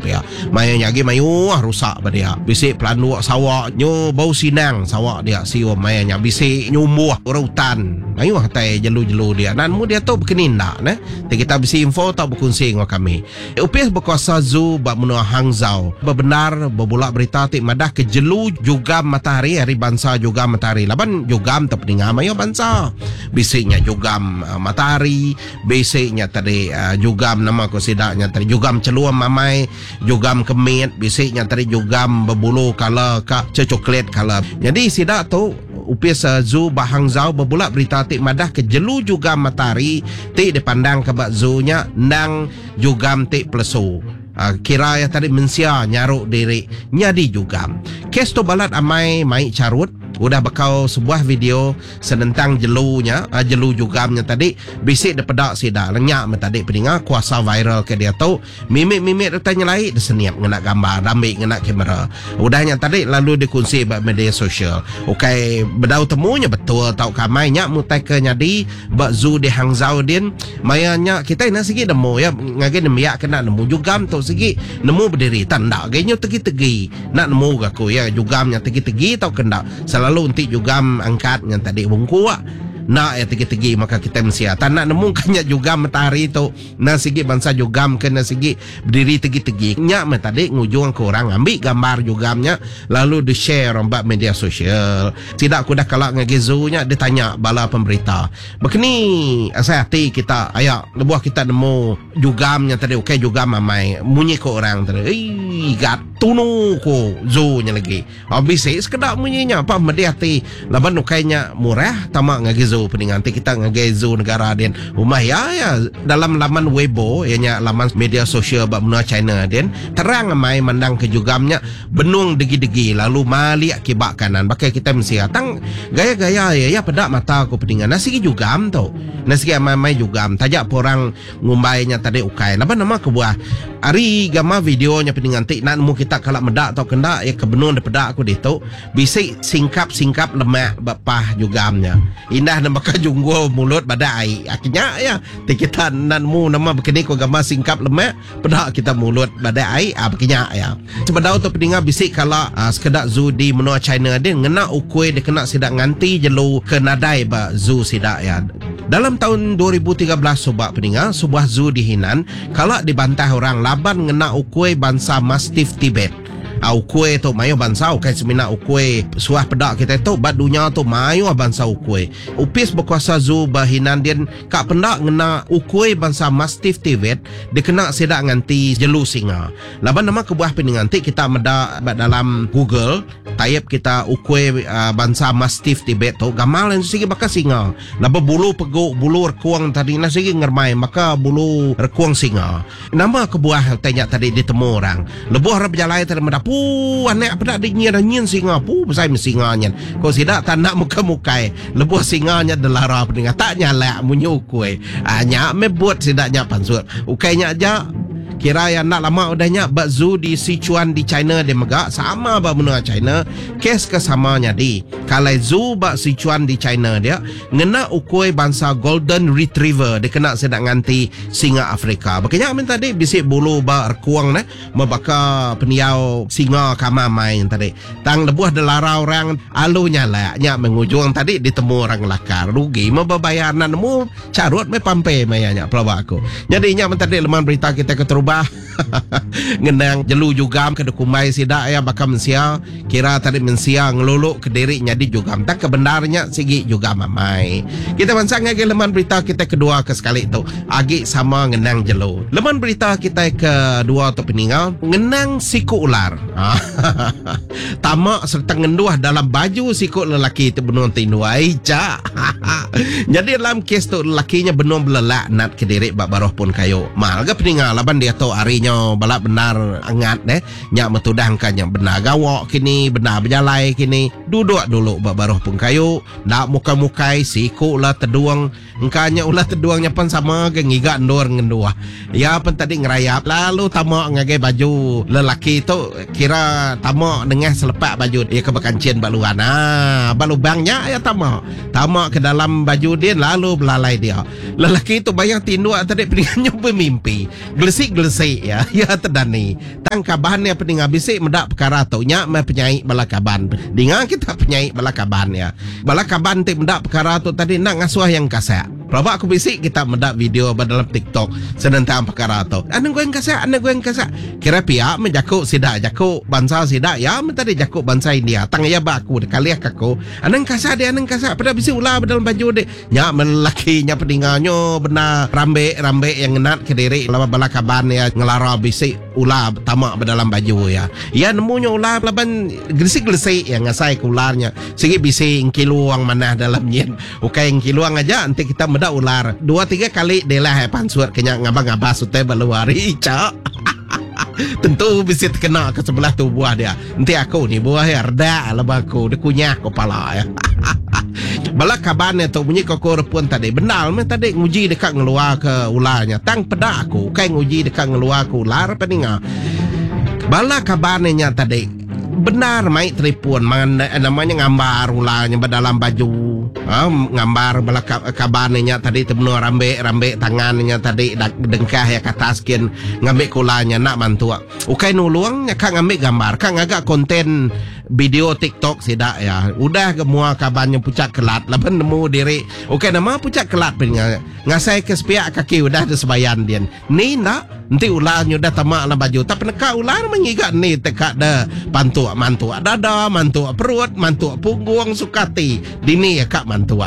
pia. Maya nya agi mayuh rusa ba dia. Bisi pelanduk sawa nyu bau sinang sawa dia sium maya nya bisi nyumbuh orang utan. Mayuh tai jelu-jelu dia. Nan mu diatu bekeni enda neh. Ti kita bisi info tau bekunsi enggau kami. Opis Bekuasa Zoo ba menua Hangzhou bebendar bebula berita ti madahka jelu jugam matahari ari bansa jugam matahari laban jugam tu peninga mayuh bansa. Bisi nya jugam matahari, bisi nya tadi jugam nama ku sida nya tadi jugam chelum amai, jugam ke mit, bisi nya tadi jugam bebulu kala ka cocoklat kala. Nyadi sida tu Opis Zoo ba Hangzhou bebula berita ti madahka jelu jugam matahari ti dipandangka ba zoo nya endang jugam ti pelesu. Kira iya tadi mensia nyaru diri nyadi jugam. Kes tu balat amai mai charut udah bekau sebuah video senentang jelu nya, jelu jugam nya tadi bisi dipeda sida. Nya meh tadi peninga kuasa viral ke diatu. Mimit-mimit utai nyelai disenip ngena gambar dambi ngena kamera. Udah nya tadi lalu dikunsi ba media sosial. Ukai bedau temu nya betul tauka amai nya meh utai ke nyadi ba zoo di Hangzhou din. Maya nya kitai enda sigi nemu iya ngagai nembiak ke enda nemu jugam tu sigi nemu bediri tang enda agi nyu tegi-tegi. Enda nemu ga aku iya jugam nya tegi-tegi tauka enda. Selalu enti jugam angkat nya tadi bungkuk enda iya tegi-tegi maka kitai mensia. Tang enda nemu ka nya jugam matahari tu. Enda sigi bansa jugam ke enda sigi bediri tegi-tegi. Nya meh tadi ngujung ke orang ngambi gambar jugam nya lalu di share orang ba media sosial. Sida ke udah kala ngagai zoo nya ditanya bala pemberita. Bekeni asai ati kita aya lebuh kita nemu jugam nya tadi ukai jugam amai munyi ko orang tadi. Eii gat tunu ko zoo nya lagi. Bisi sekeda munyi nya pa medih ati laban ukai nya murah tama ngagai zoo peninga enti kita ngagai zoo negara din rumah iya iya dalam laman Weibo iya nya laman media sosial ba menua China din terang amai mandang ke jugam nya benung degi-degi lalu malik kiba kanan baka kitai mensia tang gaya-gaya iya iya peda mata ku peninga nah sigi jugam tu nah sigi amai-amai jugam taja pa orang Ngumbai nya tadi ukai laban nama kebuah ari gambar video nya peninga enti enda nemu kita kala meda tauka enda iya ke benung dipeda aku ditu bisi singkap singkap lemak ba pah jugam nya indah ne baka junggul mulut badak ai ak nya iya ti kita enda nemu nama bekeni ko gambar singkap lemak peda kita mulut badak ai ah baka nya iya sebedau tu peninga bisi kala sekeda zoo di menua China din ngena ukui dikena sida nganti jelu ke nadai ba zoo sida iya. Dalam taun 2013 suba peninga, sebuah zoo di Hinan kala dibantah orang laban ngena ukui bansa Mastiff Tibet. A Ukui tu mayuh bansa ukai semina ukui suah peda kitai tu ba dunya tu mayuh bansa ukui. Opis bekuasa zoo ba Hinan din ka penda ngena ukui bansa Mastiff Tibet dikena sida nganti jelu singa. Laban nama kebuah peninga enti kita meda ba dalam Google, Taip kita ukui bansa Mastiff Tibet tu gamal iya sigi baka singa. Laban bulu pegu bulu rekung tadi nah sigi ngeremai baka bulu rekung singa. Nama kebuah utai nya tadi ditemu orang. Lebuh orang bejalai tadi meda puu anak peda di nyin nyin singa puu besai meh singa nyin. Ku sida tak enda mukai mukai lebuh singa nya delara peninga tak nyalak munyi ukui. Aa nya meh but sida nya pansut. Ukai nya aja. Kira iya enda lama udah nya ba zoo di Sichuan di China dia mega sama ba menua China kes ke sama nyadi. Kalai zoo ba Sichuan di China dia ngena ukui bansa Golden Retriever dikena sida nganti singa Afrika. Baka nya meh tadi bisi bulu ba rekung neh meh baka pendiau singa kama amai nya tadi. Tang lebuh delara orang alu nyalak nya meh ngujung tadi ditemu orang ngelakar. Rugi meh bebayar enda nemu. Charut meh pampe maya nya pelaba aku. Nyadi nya men tadi leman berita kitai keterubah ngenang jelu jugam ke dikumbai sida iya baka mensia kira tadi mensia ngelulu kediri nyadi jugam tang ke bendar nya sigi jugam amai. Kitai bansa ngagai leman berita kitai kedua ke sekali tu agi sama ngenang jelu. Leman berita kitai kedua tu peninga ngenang siku ular. Tama sereta ngenduh dalam baju siku lelaki ti benung ti indu ai cha. Nyadi dalam kes tu lelaki nya benung belelak nat kediri ba baruh pun kayu. Mal ga peninga laban diatu hari nya bala bendar angat deh. Nya meh tudah engka nya bendar gawa kini, bendar bejalai kini. Duduk dulu ba baruh pun kayu, enda mukai-mukai siku la tedung. Engka nya ulah tedung nya pan sama ga ngiga endur ngenduh. Iya pan tadi ngerayap lalu tama ngagai baju lelaki tu kira tama nengah selepak baju iya ke bekanchin ba luan. Haa ba lubang nya iya tama. Tama ke dalam baju din lalu belalai dia. Lelaki tu bayang tinduk tadi peninga nyu bemimpi. Gelesi-gelesi. gelesi-gelesi iya. Iya tedani. Tang kaban iya peninga bisi meda pekara tu nya meh penyai bala kaban. Dinga kita penyai bala kaban iya. Bala kaban ti meda pekara tu tadi enda ngasuh iya ngkasak. Pelaba aku bisi kita meda video ba dalam TikTok senentang pekara tu. Anang guai ngkasak, anang guai ngkasak. Kira pia meh jaku sida, jaku bansa sida iya meh tadi jaku bansa India. Tang iya ba aku dikalih ka aku. Anang ngkasak deh, anang ngkasak peda bisi ular ba dalam baju deh. Nya meh lelaki nya peninga nyo bendar rambek-rambek iya ngenat kediri laban bala kaban iya ngelara bisi ular tama ba dalam baju iya. Iya nemu nya ular laban gelesi-gelesi iya ngasai ke ular nya sigi bisi engkilung manah dalam nyin. Ukai engkilung aja enti kita meda ular dua tiga kali dilah iya pansut ke nya ngabas-ngabas utai ba luar icha. Tentu bisi tekena ke sebelah tubuh dia. Enti aku ni buah iya redak laban aku dikunyah ko pala iya. Bala kaban iya tu munyi ko aku repun tadi bendar meh tadi nguji deka ngeluar ke ular nya tang peda aku ukai nguji deka ngeluar ke ular peninga. Bala kaban iya nya tadi bendar mai telefon nama nya ngambar ular nya ba dalam baju ngambar bala kaban iya nya tadi ti benung rambek rambek tangan iya nya tadi dengkah iya ke atas gin ngambi ke ular nya enda mantuk. Ukai nulung nya ka ngambi gambar ka ngaga konten video tiktok sida iya. Udah ga mua kaban nya pucak kelat laban nemu diri ukai nama pucak kelat pun ngasai ke sepiak kaki udah da sebayan din. Ni enda enti ular nya udah tama dalam baju tak peneka ular meh ngiga ni te ka da pantuk mantuk dada mantuk perut mantuk punggung suka ati dini iya ka mantuk.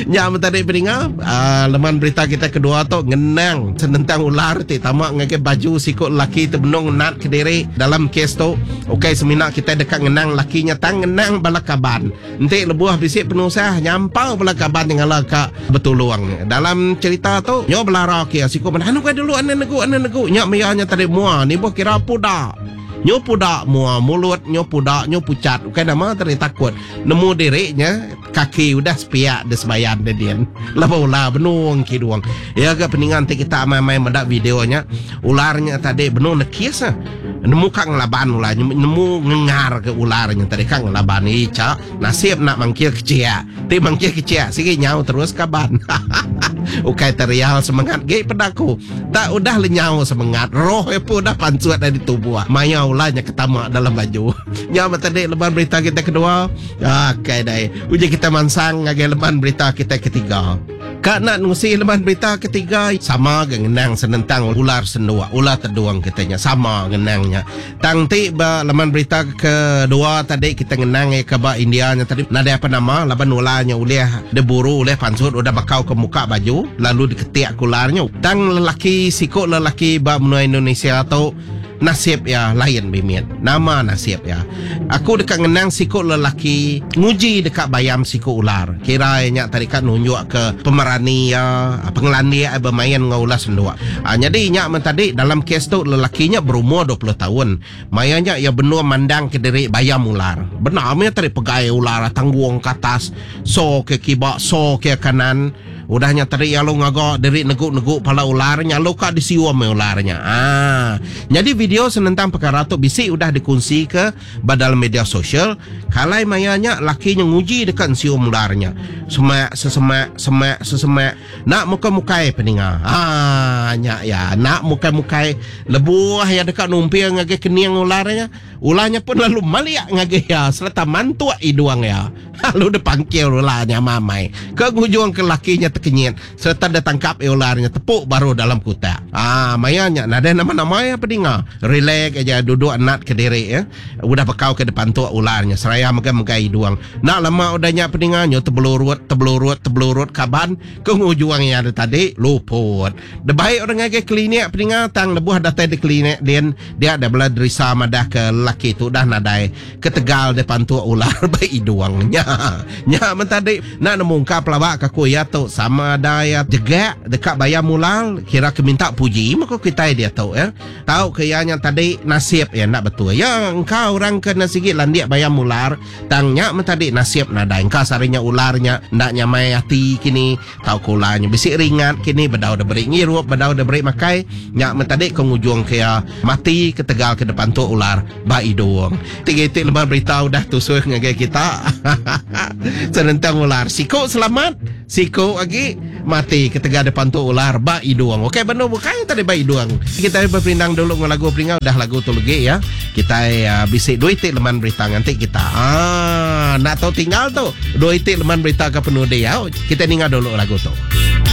Nya meh tadi peninga aaa leman berita kita kedua tu ngenang senentang ular ti tama ngagai baju siku lelaki ti benung nat kediri dalam kes tu ukai semina kitai deka ngenang lelaki nya tang ngenang bala kaban. Enti lebuh bisi penusah nyampau bala kaban nyengala ka betulung. Dalam cherita tu nyo belara ke siku meda anu kai dulu anu negu anu negu nya maya nya tadi mua nibuh kira puda. Nyo puda mua mulut nyo puda nyo puchat ukai nama tadi takut nemu diri nya kaki udah sepiak di sebayan de din. Lebuh ular benung kidung. Iya ga peninga enti kita amai-amai meda video nya ular nya tadi benung nekis. Nemu ka ngelaban ular nya, nemu ngengar ke ular nya tadi ka ngelaban icha nasib enda mangkil kechia. Ti mangkil kechia sigi nyau terus kaban. Ukai terial semengat gi peda aku. Tak udah lenyau semengat, roh iya pun udah pansut ari tubuh maya ular nya ke tama dalam baju. Nya meh tadi leban berita kita kedua. Akai dai. Uji kita mansang ngagai leban berita kita ketiga. Ka enda nusi leman berita ketiga sama ga ngenang senentang ular senduk, ular tedung kita nya sama ngenang nya. Tang enti ba leman berita kedua tadi kita ngenang iya ke ba India nya tadi nadai apa nama laban ular nya ulih diburu ulih pansut udah bakau ke muka baju lalu diketik ke ular nya. Tang lelaki siku lelaki ba menua Indonesia tu Nasib iya lain mimit. Nama nasib iya? Aku deka ngenang siku lelaki nguji deka bayam siku ular. Kira iya nya tadi ka nunjukka pemerani iya, pengelandik iya bemain enggau ular senduk. Nyadi nya men tadi dalam kes tu lelaki nya berumur 20 taun. Maya nya iya benung mandangka diri bayam ular. Bendar meh iya tadi pegai ular tanggung ke atas, so ke kiba, so ke kanan. Udah nya tadi iya lalu ngaga diri negu-negu pala ular nya lalu ka disium meh ular nya. Aa. Nyadi video senentang pekara tu bisi udah dikunsika ba dalam media sosial, kalai maya nya laki nya nguji deka ensium ular nya. Semak sesemak, semak sesemak, enda mukai-mukai peninga. Aa nya iya, enda mukai-mukai lebuh iya deka numping ngagai kening ular nya, ular nya pun lalu malik ngagai iya sereta mantuk idung iya. Lalu dipangkil ular nya amai-amai. Ke ngujung ke laki nya tekenyit sereta ditangkap iya ular nya tepuk baru dalam kutak. Aa maya nya nadai nama-nama iya pedinga. Relax aja duduk nat kediri iya. Udah bekau ke dipantuk ular nya seraya mega megai idung. Enda lama udah nya pedinga nyu tebelurut tebelurut tebelurut kaban ke ngujung iya da tadi luput. Debai orang ngagai klinik pedinga tang lebuh datai di klinik din dia deh bala derisa madah ke lelaki tu udah nadai. Ketegal deh pantuk ular ba idung nya. Nya men tadi enda nemu engka pelaba ka ku iya tu sama ada iya jegak deka bayar mulal kira ke minta puji meh ku kitai diatu ya. Tau. Tauka iya nya tadi nasib iya enda betul. Ya engka orang ke enda sigi landik bayam ular tang nya meh tadi nasib nadai. Engka sehari nya ular nya enda nyamai ati kini tauka ular nya bisi ringat kini bedau deh beri ngirup bedau deh beri makai nya meh tadi ke ngujung ke iya mati ketegal ke dipantuk ular ba idung. Ti iti leman berita udah tusui ngagai kita senentang ular. Siku selamat, siku agi mati ketegal dipantuk ular ba idung. Okey benung bukai tadi ba idung. Kitai beperindang dulu enggau lagu peringau udah lagu tu legi ya. Kitai bisi dua iti leman berita nganti kita. Aaa enda tau tinggal tu dua iti leman berita ke penudi au. Kitai ninga dulu lagu tu.